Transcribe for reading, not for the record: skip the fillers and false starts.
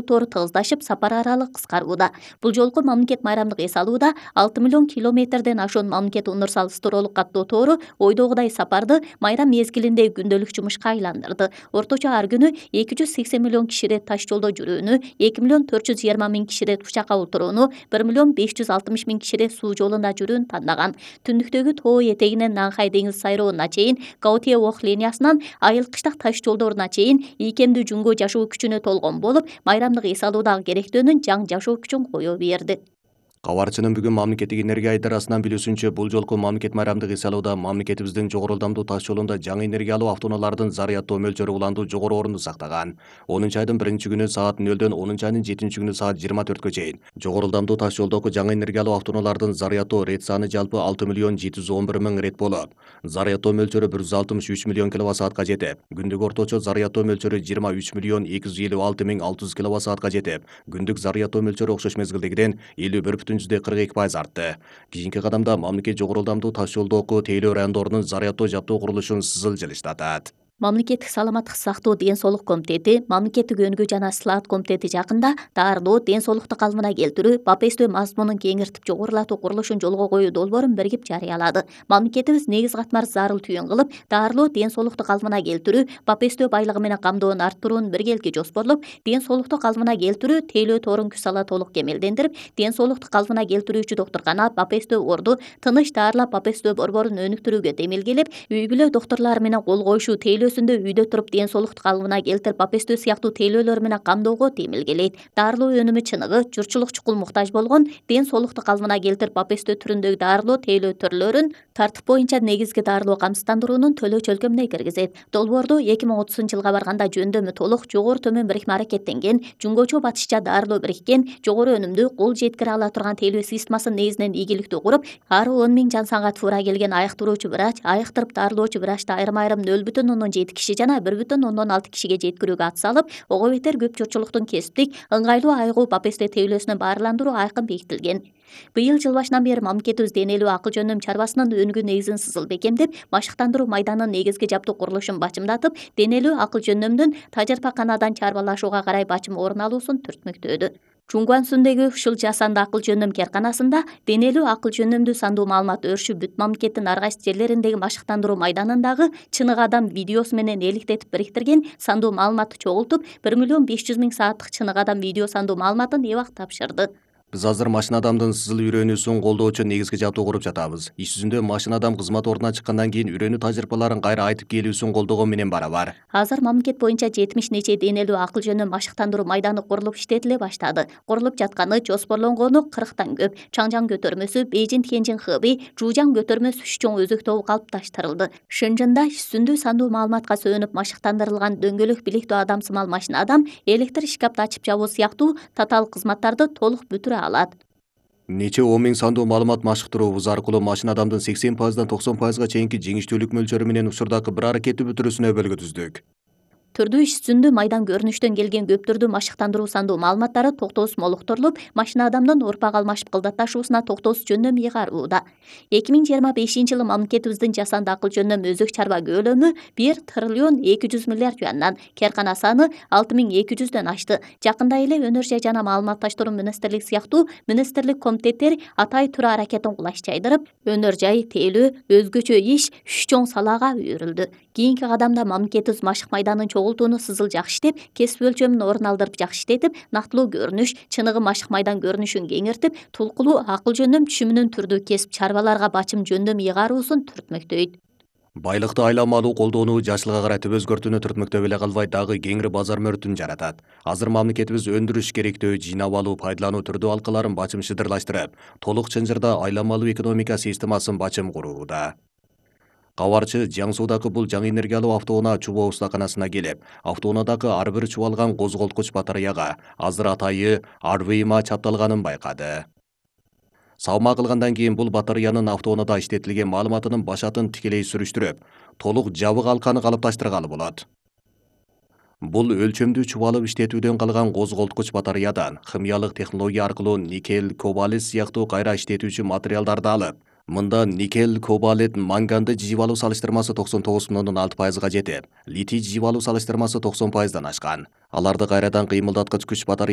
тору тыгыздашып, сапар аралы кыскарууда. Бул жолку мамлекет майрамдык эс алууда 6 миллион километрден ашуун мамлекет универсал-стороолук каттоо тору ойдогудай сапарды майрам мезгилинде күндөлүк жумушка айландырды. Орточо ар күнү 280 миллион киши ирет таш жолдо жүрүүнү, 2 миллион 420 миң киши ирет учакка отурууну, 1 миллион 560 миң киши ирет суу жолунда жүрүүнү тандаган. Түндүктөгү тоо этегинен Нанхай деңиз сайроонуна чейин, Гаотие Ох линиясынан айыл-кыштак таш жолдоруна чейин ийкемдүү жүнгө жашоо күчүнө толгон болуп, майрамдык эс алуудагы керектөөнүн жаң жашоо күчүн кое берди. Кабарчынын бүгүн мамлекеттик энергия идарасынан билүүсүнчө, бул жолку мамлекет майрамдык эс алууда мамлекетибиздин жогору ылдамдуу таш жолунда жаңы энергия алуу автоунаалардын зарядтоо мөлчөрү уланду жогору орунду сактаган. 10-айдын 1-күнү саат 0-дөн 10-айдын 7-күнү саат 24-кө чейин жогору ылдамдуу таш жолдогу жаңы энергия алуу автоунаалардын зарядтоо рет саны жалпы 6 миллион 711 миң рет болуп, зарядтоо мөлчөрү 163 миллион киловатт-саатка жетип, күндүк орточо зарядтоо мөлчөрү 23 миллион 256 миң 600 киловатт-саатка жетип, күндүк зарядтоо мөлчөрү окшош мезгилдегиден 51,42 артты. Кийинки кадамда мамлекет жогору ылдамдуу таш жолдогу тейлөө райондорунун зарядтоо жабдоо курулушун сызыл жылыштатат. Мамлекеттик саламаттык сактоо ден соолук комитети, мамлекеттик өнүгүү жана сылаат комитети жакында дарылоо, ден соолукту калыбына келтирүү, БАПСТ мазмунун кеңиртип жогорулатуу курулушун жолго коюу долбоорун биригип жарыялады. Мамлекетибиз негиз катмар зарыл түйүн кылып, дарылоо, ден соолукту калыбына келтирүү, БАПСТ байлыгы менен камдоонун арттыруунун биргелки жоспорлоп, ден соолукту калыбына келтирүү, тейлөө торун күч сала толук кемелдендирип, ден соолукту калыбына келтирүүчү доктуркана, БАПСТ орду, тыныч даарылап БАПСТ борборун өнүктүрүүгө темелгелеп, үй бүлө доктурлары менен кол коюшуу, тейлөөсүндө үйдө туруп ден соолукту калыбына келтирип БАПСТ сыяктуу тейлөөлөр менен камдоого темелгелейт. Дарылоо өнүмү чыныгы, журтчулук чукул муктаж болгон, ден соолукту калыбына келтирип БАПСТ түрүндөгү дарылоо, тейлөө түрлөрүн тартип боюнча негизги дарылоо камсыздандыруунун төлөө чөлкөмүнө киргизет. Долбоордо 2030-жылга барганда жөндөмү толук, жогору төмөн бирикме аракеттенген, жүнгөчө батышча дарылоо бириккен, жогору өнүмдүү, кол жеткире ала турган тейлөө системасын негизинен ийгиликтүү куруп, ары 10 миң жан санга туура келген айыктыруучу врач, айыктырып дарылоочу врачты айрым-айрым 0,7 киши жана 1,6 кишиге жеткирүүгө ат салып, ого бетер көп журтчулуктун кесиптик, ыңгайлуу айыгуу БАПСТ тейлөөсүнө баарландыруу айкын бекитилген. Быйыл жыл башынан бери мамлекетибиз денелүү акыл жөндөм чарбасынын өнүгүү негизин сызыл бекемдеп, машыктандыруу майданынын негизги жабдуу курулушун бачымдатып, денелүү акыл жөндөмдүн тажрыйбаканадан чарбалашууга карай бачым орун алуусун түртмөктөдү. Чунгуансундагы ушул жасанды акыл жөндөм керканасында денелүү акыл жөндөмдүү сандуу маалымат өрүшү бүт мамлекеттин ар кайсы жерлериндеги машыктандыруу майданындагы чыныгы адам видеосу менен эликтетип бириктирген сандуу маалыматты чогултуп, 1 миллион 500 миң сааттык чыныгы адам видео сандуу маалыматын эбак тапшырды. Биз азыр машина адамдын сызыл үйрөнүүсүн колдоочу негизги жабдуу куруп жатабыз. Иш жүзүндө машина адам кызмат ордуна чыккандан кийин үйрөнүү тажрыйбаларын кайра айтып келүүсүн колдогон менен барабар. Азыр мамлекет боюнча 70 нече денелүү акыл жөндөм машыктандыруу майданы курулуп иштетиле баштады. Курулуп жатканы, жоспорлонгону 40тан көп. Чаңжаң көтөрмөсү, Бейжин Тяньжин Хэби, Жужаң көтөрмө сүч чоң өзөк тобу калыпташтырылды. Шынжында үстүндүү сандуу маалыматка сөөнүп машыктандырылган дөңгөлөк билектүү адамсымал машина адам электр шкафты ачып жабуу сыяктуу татаал кызматтарды толук бүтүрө алат. Нече 10 миң сандуу маалымат машыктыруубуз аркылуу машина адамдын 80%дан 90%га чейинки жеңиштүүлүк мөлчөрү менен учурдагы бір аракетти бүтүрүүсүнө өбөлгө түздүк. Түрдүү иш жүзүндө майдан көрүнүштөн келген көп түрдүү машыктандыруу сандуу маалыматтары токтоосуз молуктурулуп, машина адамдын урпак алмашып кылдатташуусуна токтоосуз жөндөм ыйгарууда. 2025-жылы мамлекетибиздин жасанды акыл жөндөм өзөк чарба көлөмү 1 триллион 200 миллиард юандан, керкана саны 6200дөн ашты. Жакында эле өнөр жай жана маалыматташтыруу министрлиги сыяктуу министрлик комитеттери атай тура аракетин кулаш жайдырып, өнөр жай, тейлөө, өзгөчө иш үч чоң салаага үйрүлдү. Кийинки кадамда мамлекетибиз машык майданын чогултууну сызыл жакшы иштеп, кесип өлчөмүн орун алдырып жакшы иштетип, нактылуу көрүнүш, чыныгы машык майдан көрүнүшүн кеңиртип, тулкулуу акыл жөндөм түшүмүнүн түрдүү кесип чарбаларга бачым жөндөм ыйгаруусун түртмөктөйт. Байлыкты айламалуу колдоону жашылга каратып өзгөртүүнү түртмөктөп эле калбай, дагы кеңири базар мөртүн жаратат. Азыр мамлекетибиз өндүрүш керектөө, жыйнап алуу, пайдалануу түрдүү алкаларын бачым шыдырлаштырып, толук чынжырда айламалуу экономика системасын бачым курууда. Кабарчы Жаңсуудагы бул жаңы энергиялуу автоунаа Чубоо устаканасына келип, автоунаадагы ар бир чубалган козголткуч батареяга азыр атайы Arvima чапталганын байкады. Саама кылгандан кийин бул батареянын автоунаада иштетилген маалыматынын башатын тикелей сүрүштүрүп, толук жабык алканы калыпташтыргалы болот. Бул өлчөмдүү чубалып иштетүүдөн калган козголткуч батареядан химиялык технология аркылуу никель, кобалт сыяктуу кайра иштетүүчү материалдарды алып, Мында никель, кобалт, манганды жыйып алуу салыштырмасы 99,6%га жетип, литий жыйып алуу салыштырмасы 90%дан ашкан. Аларды кайрадан кыймылдаткыч күч батарейя